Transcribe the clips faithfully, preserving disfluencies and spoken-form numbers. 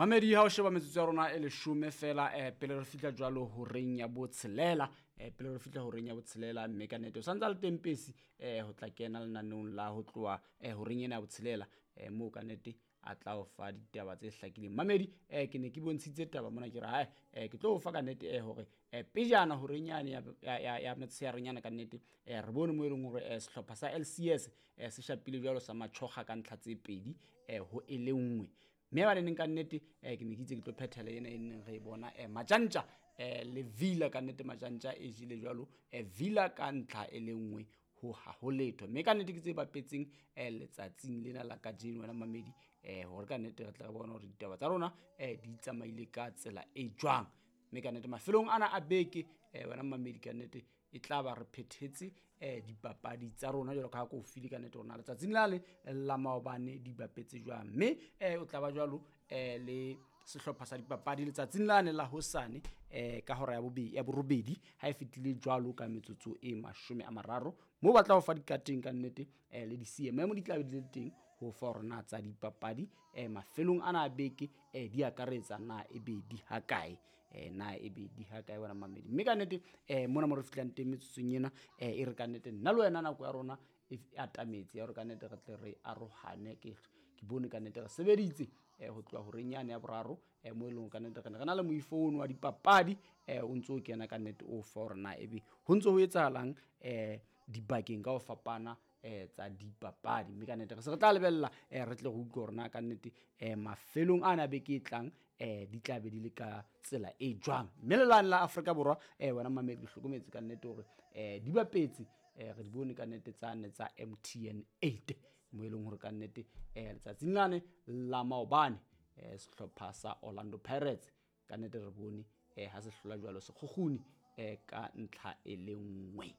Mamedi ha o sheba metsotso ya rona e leshome fela eh, pele re fihla jwalo horeng ya botshelela, eh, pele re fihla horeng ya botshelela, mme ka nnete o santse a le teng Pesi eh, ho tla kena lenaneong la ho tloha eh, horeng ena ya botshelela, eh, moo ka nnete a tla o fa ditaba tse hlakileng. Mamedi eh, ke ne ke bontshitse taba mona ke re hae eh, ke tlo o fa ka nnete eh, hore eh, pejana horeng yane ya, ya, ya, ya motshearenyana ka nnete eh, re bone mo e leng hore eh, sehlopha sa L C S eh, se shapile jwalo sa matjhokga ka ntlha tse pedi eh, ho e le nngwe. Mme ba neng ka nnete eh, ke ne ke itse ke tlo phethela ena e neng re e bona eh, Majantja eh, le Villa ka nnete Majantja e jele jwalo eh, Villa ka ntlha e le nngwe ho ha ho letho. Mme ka nnete ke tse bapetseng eh, letsatsing lena la kajeno wena mamedi eh, hore ka nnete re tla re bona hore ditaba tsa rona eh, di tsamaile ka tsela e jwang. Mme ka nnete mafelong ana a beke eh, wena mamedi ka nnete e tla ba re phethetse eh, dipapadi tsa rona jwalo ka ha ke o file ka nnete rona letsatsing la le la maobane di bapetse jwang. Mme eh, o tla ba jwalo eh, le sehlopha sa dipapadi letsatsing lane la hosane eh, ka hora ya bobe-, ya borobedi ha e fetile jwalo ka metsotso e mashome a mararo, moo ba tla ho fa dikateng ka nnete eh, le di-C M M di tla be di le teng ho fa hore na tsa dipapadi eh, mafelong ana a beke eh, di akaretsa na e be di ha kae, eh, na e be di ha kae wena mamedi. Mme ka nnete eh, mona mo re fihlang teng metsotsong ena eh, e re ka nnete nna le wena nako ya rona e f-, e atametse ya hore ka nnete re tle re arohane. Ke, ke bone ka nnete re sebeditse eh, ho tloha horeng yane ya boraro eh, mo e leng ka nnete re ne re na le moifo ono wa dipapadi eh, o ntso o kena ka nnete o fa hore na ebe ho ntso ho etsahalang eh, dibakeng ka ho fapana eh, tsa dipapadi. Mme ka nnete re se re tla lebella eh, re tle re utlwe hore na ka nnete eh, mafelong ana beke e tlang eh, di tla be di le ka tsela e jwang. Mme lelane la Afrika Borwa eh, wena mamedi ke hlokometse ka nnete hore eh, di bapetse eh, re di bone ka nnete tsane tsa M T N eight mo e leng hore ka nnete eh, letsatsing lane la maobane eh, sehlopha sa Orlando Pirates ka nnete re bone eh, ha se hlola jwalo Sekgukguni eh, ka ntlha e le nngwe.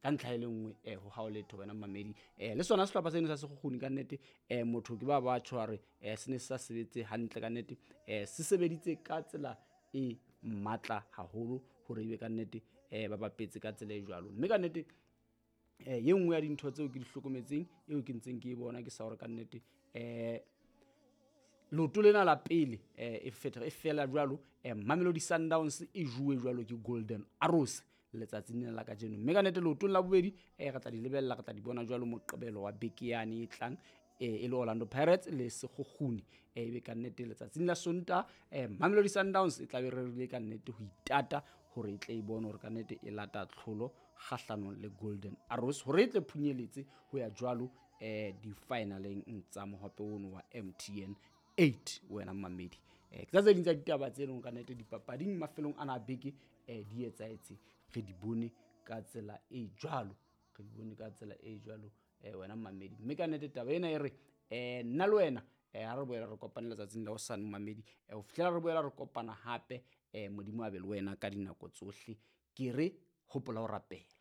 Ka ntlha e le nngwe eh, ho hao letho wena mamedi eh, le sona sehlopha seno sa Sekgukguni ka nnete eh, motho ke ba ba tjho hore eh, se ne se sa sebetse hantle ka nnete eh, se sebeditse ka tsela e matla haholo hore ebe ka nnete eh, ba bapetse ka tsela e jwalo. Mme ka nnete eh, e nngwe ya dintho tseo ke di hlokometseng eo ke ntseng ke e bona ke sa hore ka nnete eh, leoto lena la pele eh, e feta, e fela jwalo eh, Mamelodi Sundowns e juwe jwalo ke Golden Arrows letsatsing lena la kajeno. Mme ka nnete leotong la bobedi eh, re tla di lebella, re tla di bona jwalo Moqebelo wa beke yane e tlang eh, e le Orlando Pirates le Sekgukguni eh, ebe ka nnete letsatsing la Sontaha eh, Mamelodi Sundowns e tla be rerile ka nnete ho itata hore e tle e bone hore ka nnete e lata tlholo kgahlanong le Golden Arrows hore e tle phunyeletse ho ya jwalo eh, di-finaleng tsa mohope ono wa M T N eight wena mamedi. Eh, ke tsa tse ding tsa ditaba tse leng ka nnete dipapading mafelong ana a beke eh, di etsahetse, re di bone ka tsela e jwalo, re di bone ka tsela e jwalo eh, wena mamedi. Mme ka nnete taba ena e re eh, nna le wena eh, ha re boela re kopane letsatsing la hosane mamedi eh, ho fihlela re boela re kopana hape eh, Modimo a be le wena ka dinako tsohle. Ke re hopola ho rapela.